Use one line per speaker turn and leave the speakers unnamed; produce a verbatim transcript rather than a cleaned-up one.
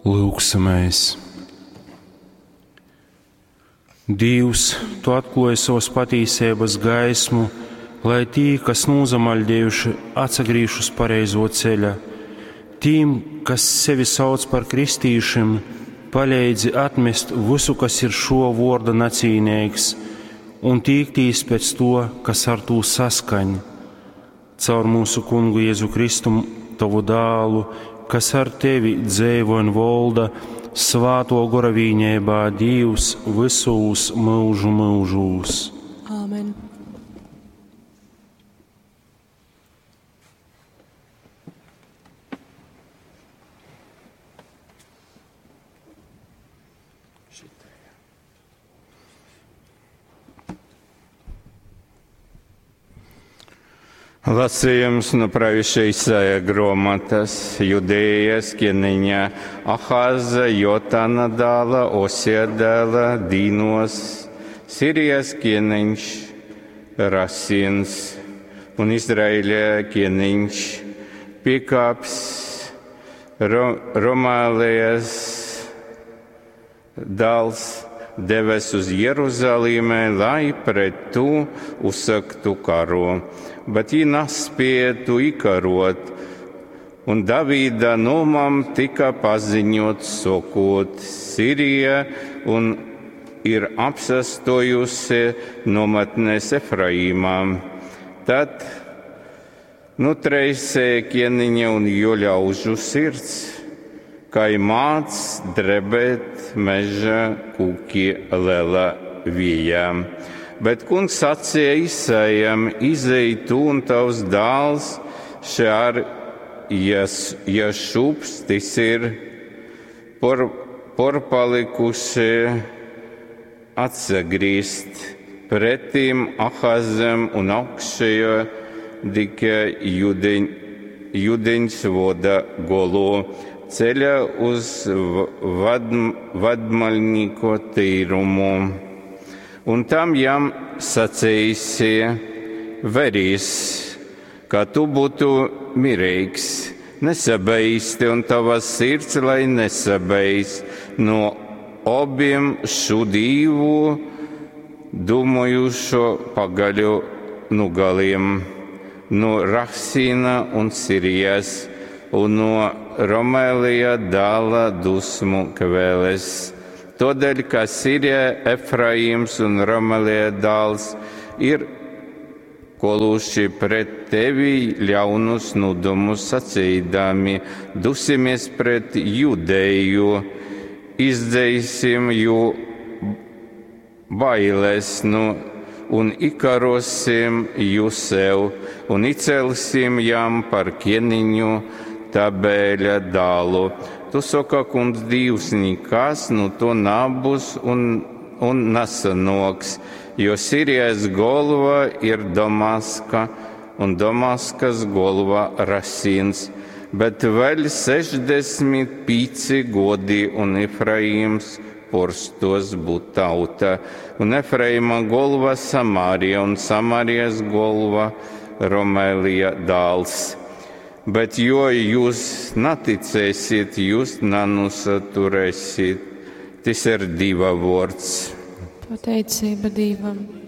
Lūksimies! Dīvs, Tu atklāji savas patīsības gaismu, lai tī, kas nūzamaļdējuši, atsagrīž uz pareizo ceļa. Tīm, kas sevi sauc par kristīšim, paleidzi atmest visu, kas ir šo vorda nacīnīgs, un tīktīs pēc to, kas ar tū saskaņ. Caur mūsu kungu Jēzu Kristu, tavu dālu, kas ar tevi dzeivo un volda, svāto gora vīņībā Dīvs visūs mūžu mūžūs.
Āmen.
Lasījums no pravieša Isaija grāmatas Judējas ķēniņa Ahaza, Jotana dēla, Osija dēla, Dīnos, Sirijas ķēniņš Rasins un Izraēļa ķēniņš Pikāps, Ro Romālijas dēls devies uz Jeruzalemi, lai pret to uzsāktu karu, bet viņi nespēja to iekarot. Un Davida nomam tika paziņots, sakot, Sirija un ir apsastojusi nometnēs Efraīmā. Tad nutreisēja ķēniņa un jo ļaužu sirds, kā māc drebēt meža kūki liela vījā. Bet kungs sacīja Isaijam, izej tu un tavs dēls Šear Jašups, tas ir por, porpalikuši atsagrīzt pretim Ahazam un augšējo dike judeņ, judeņs voda golu ceļa uz vad, vadmaļnīko tīrumu. Un tam jam sacīsi, verīs, ka tu būtu mierīgs, nesabeisti un tava sirds, lai nesabeist no abiem šo divu domājušo pagaļu nugaliem, no Rahsīna un Sirijas un no Romēlija dēla dusmu kvēles. Todēļ, ka Sirija, Efraims un Romēlija dēls ir koluši pret tevi ļaunus nodomus sacīdami, dusimies pret Judeju, izdzeisim jū bailes nu, un ikarosim jū sev, un icelsim jam par ķēniņu Tabēļa dālu. Tu saka, kungs Dievs, nekas nu to nabūs un, un nesanoks, jo Sirijas galva ir Damaska un Damaskas galva Rasins, bet vēl sešdesmit pieci godi un Efraims porstos būt tauta, un Efraima galva Samārija un Samārijas galva Romēlija dāls. Bet jo jūs neticēsiet, jūs nenusaturēsiet. Tas ir Dieva vārds.
Pateicība Dievam.